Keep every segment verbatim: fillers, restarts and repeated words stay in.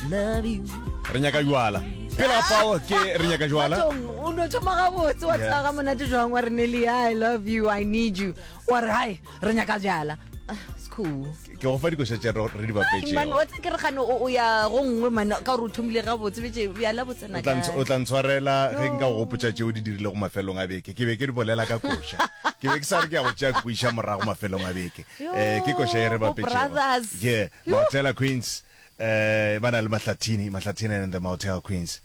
Love you. Re nyaka jwala. Pele ga fao ke re nyaka jwala. Bathong, o no thoma gabotse wa Yeah. tseba ga monate jwang wa re Nelly, I love you, I need you. Wa re hai, re nyaka jala. Ah, It's cool. Ke go fa dikoša tše re re di Man, bapetšego. wa tseba ke re gane o o ya go nngwe man ka gore o thomile gabotse betse bjala bo tsena O tla nts- kae? o tla ntshwarela ge nka go gopotša tšeo di dirilego mafelong a beke. Ke be ke di bolela ka koša. Ke be ke sa re ke ya go tšea kwiša morago mafelong a beke. Yo, Eh, ke koša e re bo bapetšego. brothers. Yeah, Maotela Queens eh ba na le Mahlathini, Mahlathini and the Motel Queens.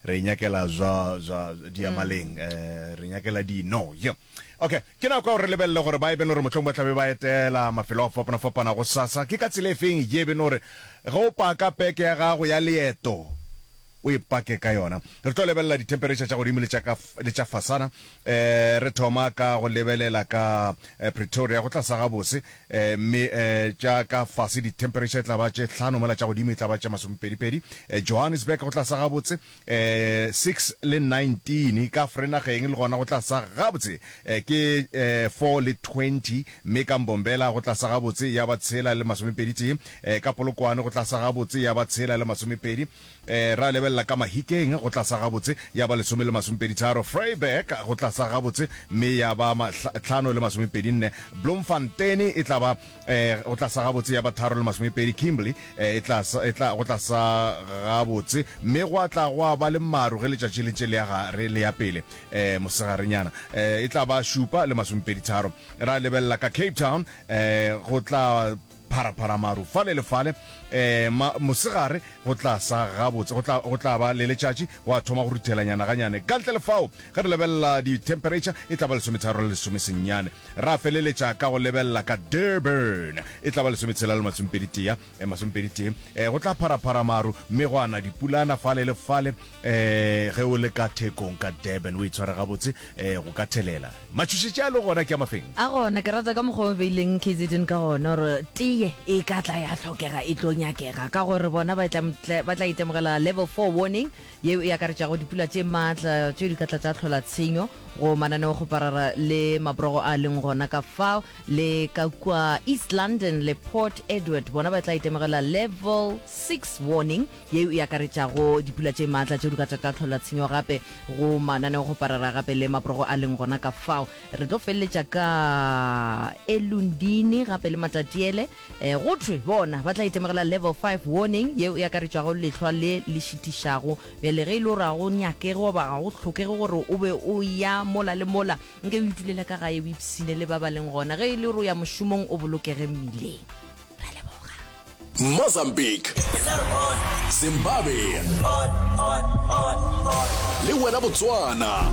Re nyakela zwa zwa diamaleng, eh re nyakela dino. Yeah. Okay, ke nako ya gore re lebelele gore ba e bene gore mohlomong ba tlabe ba etela mafelo a go fapana-fapana go sasa. Ke ka tsela e feng ye bene gore ge o paka peke ya gago ya leeto o e pake ka yona. Re tlo lebelela di-temperature tša godimo le tša ka le tša fasana. Eh re thoma ka go lebelela ka eh, Pretoria go tla sa gabotse, eh mme eh tša ka fase di-temperature e tla ba tše hlano, mola tša godimo e tla ba tše masomepedi-pedi. Eh, Johannesburg go tla sa gabotse, eh six le nineteen, ka Vereeniging le gona go tla sa gabotse, eh ke eh four le twenty, mme ka Mbombela go tla sa gabotse ya ba tshela le masomepedi tee, eh ka Polokwane go tla sa gabotse ya ba tshela le masomepedi, eh ra lebelela ka Mahikeng go tla sa gabotse ya ba lesome le masomepedi tharo, Vryburg go tla sa gabotse mme ya ba mahla- tlhano le masomepedi nne, Bloemfontein e tla ba eh go tla sa gabotse ya ba tharo le masomepedi, Kimberley eh, e tla sa- e tla go tla sa gabotse mme gwa tla gwa ba le maru ge letšatši le ntše le ya gare le ya pele eh mosegarenyana, eh e tla ba šupa le masomepedi tharo. Ra lebelela ka Cape Town, eh go tla pharapara maru fale le fale, eh ma, mosegare go tla sa gabotse, go tla go tla ba le letšatši gwa thoma go ruthelanyana ganyane. Ka ntle le fao ge re lebelela di-temperature e tla ba lesometharo le lesomesenyane. Ra feleletša ka go lebelela ka Durban e tla ba lesometshela le masomepedi tee, eh, masomepedi tee, eh go tla pharapara maru mme go ana dipulana fale le fale, eh ge o le ka thekong ka Durban o itshware gabotse, eh go ka thelela. Matšhošetši a le gona ke a mafeng. A gona ke rata ka mokgwa o beileng K Z N ka gona gore teye e ka tla ya hlokega e tlo nyakega ka gore bona ba tla ba tla itemogela level four warning yeo e akaretšago dipula tše maatla tšeo di ka tla tša hlola tshenyo go mananeo go parara le mabrogo a leng gona ka fao le ka kua East London le Port Edward bona ba tla itemogela level six warning yeo e akaretšago dipula tše maatla tšeo di ka tla tša hlola tshenyo gape go mananeo go parara gape le mabrogo a leng gona ka fao. Re tlo feleletša ka Elundini gape le Matatiele, eh go thwe bona ba tla itemogela level five warning yeo e akaretšago lehlwa le le šitišago. Bjale ge e le gore ga go nyakege goba ga go hlokege gore o be o ya mola le mola, nke o itulela ka gae o ipshine le ba ba leng gona. Ge e le gore o ya mošomong o bolokege mmileng. Ra leboga. Mozambique, Zimbabwe le wena Botswana.